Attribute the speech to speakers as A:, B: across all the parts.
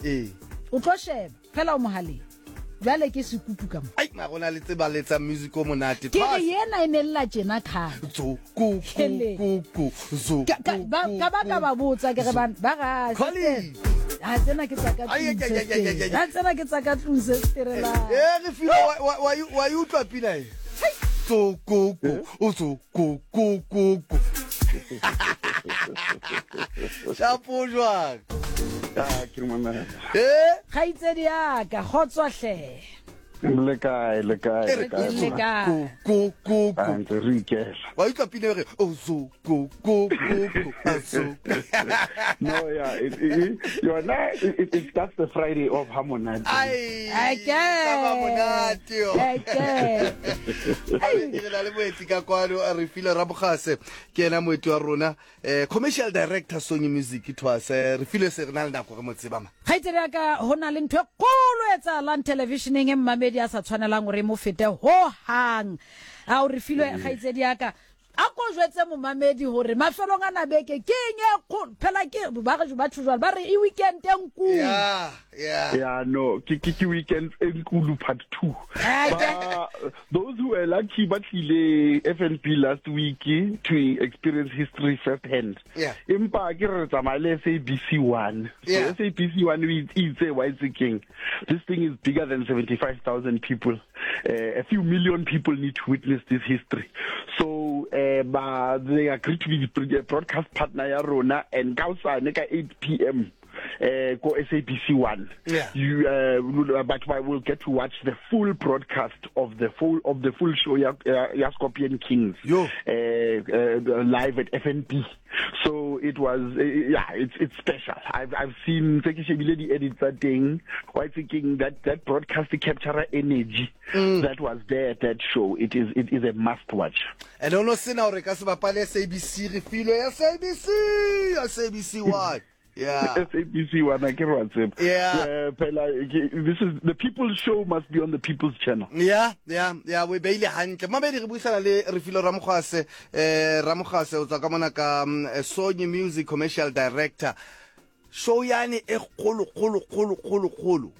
A: Ee.
B: O tlo sheba fela o mogaleng. Bjale ke sekupu ka mo.
A: Ai, mara o na le tseba letsa music o monate.
B: Ke re yena e ne lla tjena khale.
A: Zo ku ku ku ku zo.
B: Ka ka ba ka ba ka ba botsa ke re ba ba ga.
A: Colleen.
B: Ha tsena ke tsa ka tlung. Ha tsena ke tsa ka tlung se sterela.
A: Eh re filo wa wa wa utlwa pina e. Zo ku ku o zo ku ku ku ku. Shapo jwang?
C: Ah, ke mamela.
A: Eh?
B: Kgaitsedi ya ka, kgotso hle.
C: Le kae, le kae, le kae.
B: Le kae.
A: Ku ku ku.
C: Ah, ntse re ikela.
A: Wa utlwa pina e re o zo ku ku ku ku a zo.
C: No, yeah, it, it, yona it, it starts the Friday of ha monate.
A: Ai.
B: Eke.
A: Taba monate yo.
B: Eke.
A: Ai, re na le moetsi ka kwano re file Rabogase ke yena moeti wa rona eh commercial director Sony Music thwase re file se re na le nako re mo tseba ma.
B: Kgaitsedi ya ka, ho na le ntho e kgolo e etsahalang televisheneng e mmamedi a sa tshwanelang hore e mo fete ho hang. Ao re filwe kgaitsedi ya ka, a ko jwetse momamedi hore mafelong a na beke ke eng e kgolo. Phela ke ba re batho jwale ba re e weekend e nkulu.
A: Yeah, yeah.
C: Yeah, no, ke ke ke weekend e nkulu part 2. Ba Those who were lucky ba tlile FNB last week to experience history first hand.
A: Yeah.
C: Empa ke re tsamaya le SABC 1. So
A: Yeah.
C: SABC 1 o itse wa itse keng. This thing is bigger than 75,000 people. A few million people need to witness this history. So ba they agreed to be the broadcast partner ya rona and ka hosane ka 8 p.m. Ko SABC 1.
A: Yeah.
C: You but I will get to watch the full broadcast of the full show ya, ya, ya Scorpion Kings.
A: Yo.
C: Live at FNB. So it was yeah, it's special. I've seen tse ke shebile di edits tsa teng. Wa itse keng that broadcast capture energy that was there at that show. It is a must watch.
A: And ono sena hore ka se bapale SABC re filwe SABC SABC 1. Yeah.
C: SABC 1 a ke re wa tseba.
A: Yeah.
C: Phela this is the people's show must be on the people's channel.
A: Yeah, yeah, yeah, we beile hantle. Mamedi re buisana le Refilwe Ramogase, Ramogase o tswa ka mona ka Sony Music Commercial Director. Show yane e kgolo kgolo kgolo kgolo kgolo.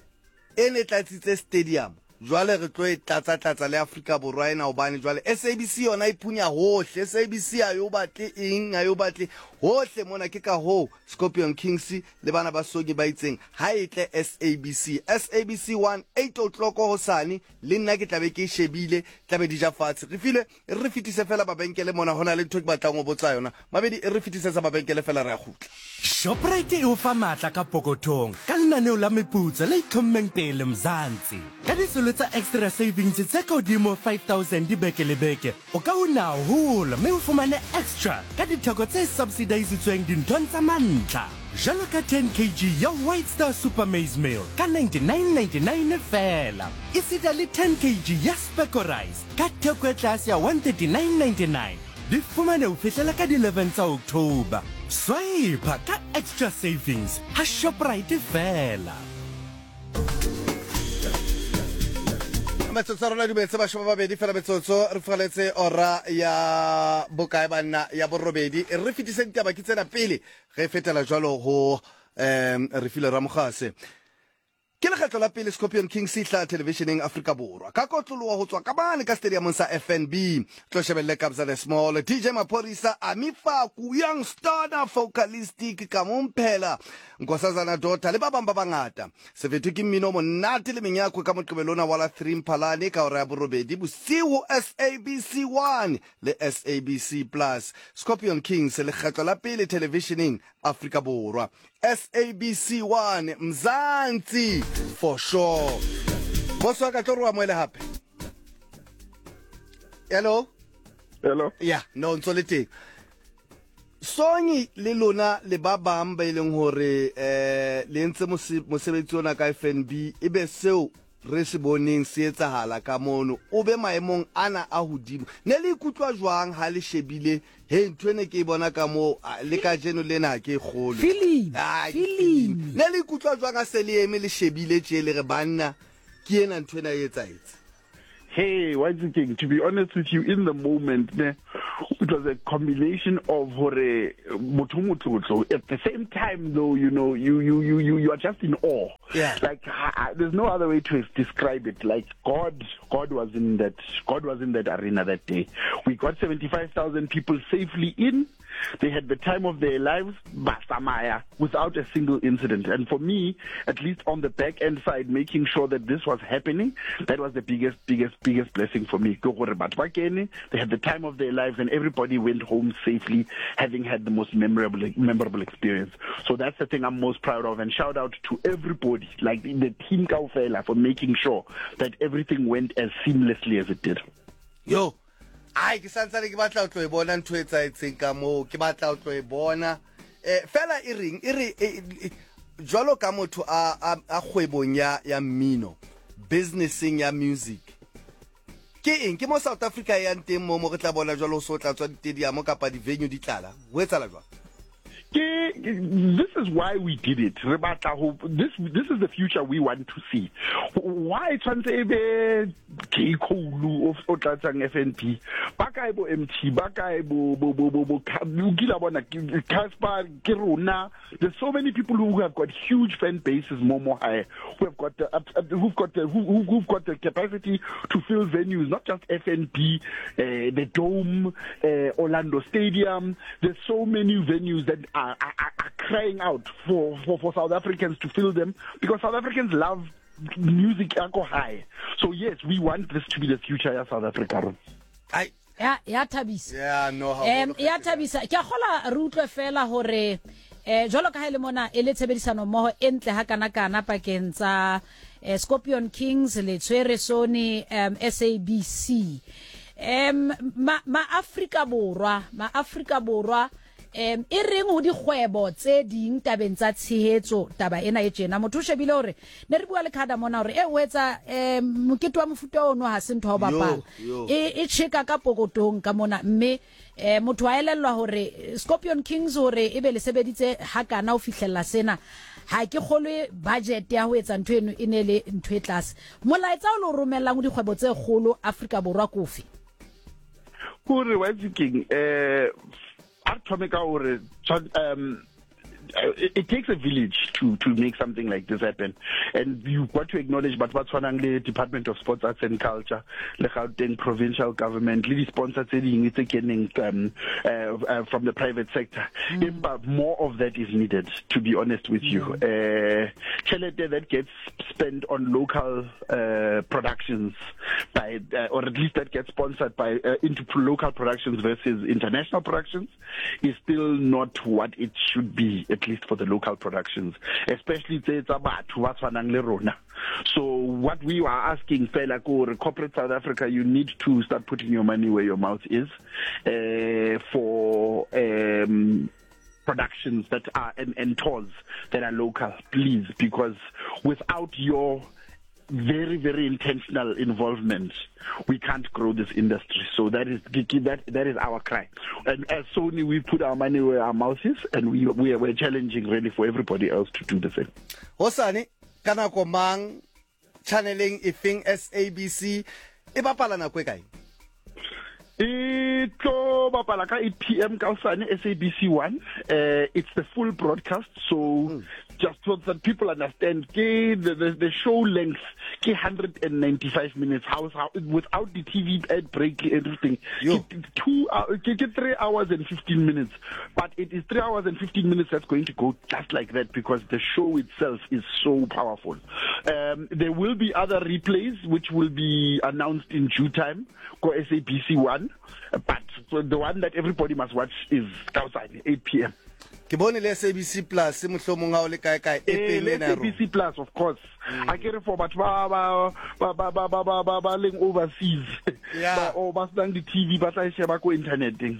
A: E ne tlatsitse stadium. Jwale re tlo e tlatsa tlatsa le Afrika Borwa ena hobane jwale SABC yona e phunya hohle. SABC ha yo batle eng, ha yo batle hohle mona. Ke ka hoo Scorpion Kings le bana ba Sony ba itseng ha e tle SABC. SABC 1 8 o'clock hosane le nna ke tla be ke e shebile, tla be di ja fatshe. Re filwe e re fetise fela mabenkele mona, ho na le ntho ke batlang ho botsa yona. Mabedi e re fetisetsa mabenkele fela re a kgutla.
D: Shoprite e o fa maatla ka pokothong ka lenaneo la meputso le itlhommeng pele Mzansi. Ka disolo tsa Extra Savings tse ka hodimo 5000 beke le beke, o ka una haholo mme o fumane extra ka ditheko tse subsidisitsweng dinthong tsa mantlha, jwalo ka 10 kg ya White Star Super Maize Meal ka 99.99 feela, esita le 10 kg ya Specco Rice ka theko e tlase ya 139.99. Di fumane ho fihlela ka di 11 tsa October. Swipe ka Extra Savings ha Shoprite feela.
A: Metsotso ya rona dumetse bashoma babedi fela metsotso re fugaletse ora ya bokae banna ya borobedi re fetise ditaba ke tsena pele re fetela jwalo ho re file Ramogase. Ke lekgetlo la pele Scorpion Kings e hlaha televisheneng Afrika Borwa. Ka kotloloha ho tswa ka mane ka stadiumong sa FNB. Tlo shebelle Kabza De Small, DJ Maphorisa, Ami Faku, Young Stunna, Focalistic, Kamomphela, Nkosazana Daughter le ba bang ba bangata. Sefetho ke mmino o monate le menyakwe ka Moqebelo ona wa la 3 Mphalane ka hora ya borobedi bosiu ho SABC 1 le SABC Plus. Scorpion Kings lekgetlo la pele televisheneng Afrika Borwa. SABC 1 Mzansi for sure. Boss wa ka tlo re wa moele hape. Hello.
C: Hello.
A: Yeah, no ntso le teng. Songi le lona le ba bang ba ileng hore eh le entse mosebetsi ona ka FNB ebe seo re se boneng se etsahala ka mono, o be maemong ana a hodimo. Ne le ikutlwa jwang ha le shebile he ntho ene ke e bona ka moo le kajeno lena ha ke e kgolwe?
B: Filimi,
A: Ah, ke
B: filimi.
A: filimi. Ne le ikutlwa jwang ha se le eme le shebile tje le re banna ke ena ntho ena e etsahetse?
C: Hey, wa itse keng, to be honest with you, in the moment ne, it was a combination of hore motho o motlotlo, at the same time though, you know, you, you, you, you, you are just in awe.
A: Yeah.
C: Like I, there's no other way to describe it. Like God, God was in that, God was in that arena that day. We got 75,000 people safely in. They had the time of their lives, basamaya, without a single incident. And for me, at least on the back end side, making sure that this was happening, that was the biggest, biggest, biggest blessing for me. Ke gore batho ba kene, they had the time of their lives, and everybody went home safely, having had the most memorable, memorable experience. So that's the thing I'm most proud of. And shout out to everybody, like the team kaofela, for making sure that everything went as seamlessly as it did.
A: Yo, ai ke santsane ke batla ho tlo e bona ntho e etsahetseng ka moo, ke batla ho tlo e bona. Eh, fela e reng, e re e, e, jwalo ka motho a, a, a kgwebong ya, ya mmino, businesseng ya music, ke eng ke mo South Africa e yang teng mo mo re tla bona jwalo ho so tla tswa ditediamo kapa di-venue di tlala, ho etsahala jwang?
C: Ke, this is why we did it. Re batla ho, this, this is the future we want to see. Why tshwantse e be J. Cole o tlatsang FNB? Ba kae bo MT? Ba kae bo, bo, bo, bo, bo, o kila bona, Cassper, ke rona. There's so many people who have got huge fan bases mo mo hae, who have got the, who've got the, who, who've got the capacity to fill venues, not just FNB, the Dome, Orlando Stadium. There's so many venues that are, are, are crying out for, for, for South Africans to fill them, because South Africans love music ya ko hae. So yes, we want this to be the future ya South Africa.
A: Ai.
B: Ya, ya thabisa.
A: Yeah, no, haholo.
B: Ya thabisa. Ke a kgola re utlwe fela hore eh jwalo ka ha e le mona e le tshebedisano mmoho e ntle ha kana kana pakeng tsa eh, Scorpion Kings le tshwere Sony um, SABC. Um ma, ma Afrika Borwa, ma Afrika Borwa Um e reng ho dikgwebo tse ding tabeng tsa tshehetso taba ena e tjena? Motho o shebile hore ne re bua le Khada mona hore e o etsa um mokete wa mofuta ono ha se ntho ya ho bapala. E e tjheka ka pokotong ka mona mme eh motho a elellwa hore Scorpion Kings hore ebe le sebeditse hakana ho fihlella sena ha ke kgolwe budget ya ho etsa ntho eno e ne le ntho e tlase. Molaetsa o le o romellang ho dikgwebo tse kgolo Afrika Borwa ke ofe?
C: Kore wa itse keng eh a re thome ka gore it, it takes a village to to make something like this happen, and you've got to acknowledge batho ba tshwanang le Department of Sports, Arts and Culture, le Gauteng provincial government, le di-sponsor tse dingwe tse keneng from the private sector. Empa more of that is needed, to be honest with you. Tjhelete that gets spent on local productions by or at least that gets sponsored by into local productions versus international productions is still not what it should be, at least for the local productions, especially tse tsa batho ba tshwanang le rona. So what we are asking fela ke hore corporate South Africa, you need to start putting your money where your mouth is for productions that are and tours that are local, please, because without your very, very intentional involvement, we can't grow this industry. So that is that, that is our cry. And as Sony, we put our money where our mouth is, and we, we are, we're challenging really for everybody else to do the same.
A: Hosane, ka nako mang, channeleng efeng, SABC e bapala nako e kae?
C: E tlo bapala ka 8 p.m. ka hosane, SABC 1. It's the full broadcast, so just so that people understand, ke the show length ke 195 minutes, how, without the TV ad break and everything.
A: Yo.
C: Ke two, ke 3 hours and 15 minutes, but it is 3 hours and 15 minutes that's going to go just like that, because the show itself is so powerful. There will be other replays which will be announced in due time ko SABC 1, but the one that everybody must watch is ka hosane 8 p.m.
A: Ke bone le SABC Plus mohlomong ha o le kae kae
C: Eh,
A: app-eng
C: le
A: ena ya rona.
C: SABC Plus of course. A ke re for batho ba ba ba ba ba ba ba ba ba leng overseas
A: Yeah.
C: ba or ba senang di-TV ba tla e sheba ko interneteng.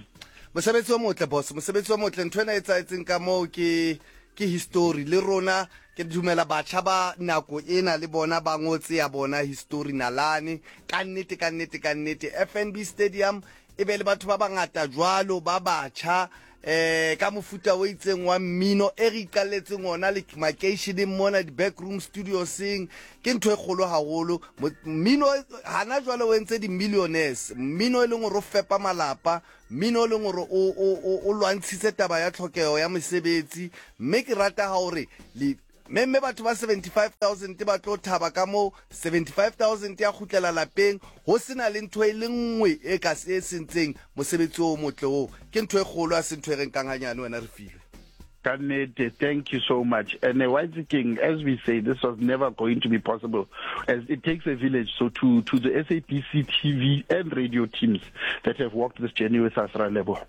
A: Mosebetsi o motle boss, mosebetsi o motle. Ntho ena e etsahetseng ka moo ke ke history le rona ke dumela batjha ba nako ena le bona ba ngotse ya bona history nalane ka nnete ka nnete ka nnete. FNB Stadium e be le batho ba bangata jwalo ba batjha ka mofuta o itseng wa mmino e re iqalletseng ona le makeisheneng mona di-backroom studioseng ke ntho e kgolo haholo. Mmino hana jwale o entse di-millionaires, mmino e leng hore o fepa malapa, mmino e leng hore o lwantshitse taba ya tlhokeho ya mesebetsi. Mme ke rata ha hore le Mme mme batho ba 75,000 ba tlo thaba ka moo 75,000 ya kgutlela lapeng ho se na le ntho e le nngwe e ka e sentseng mosebetsi o motle oo. Ke ntho e kgolo, ha se ntho e re nkang hanyane wena Refilwe.
C: Ka nnete, thank you so much. And wa itse keng, as we say, this was never going to be possible as it takes a village. So to, to the SABC TV and radio teams that have walked this journey with us, ra leboha.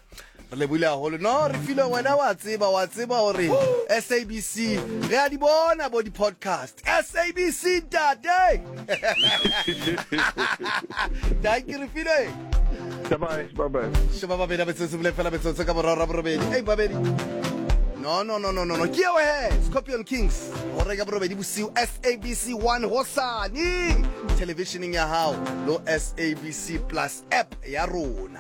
A: Re lebohile haholo. No, Refilwe wena wa tseba, wa tseba hore SABC re a di bona bo di-podcast. SABC ntate. Thank you Refilwe.
C: Bye bye, bye bye.
A: Sheba babedi a metsotso bile fela metsotso ka boraro borobedi. Ei babedi. No no no no no no. Ke eo he, Scorpion Kings. Hora ya borobedi bosiu SABC 1 hosane. Televisioning ya hao lo SABC Plus app ya rona.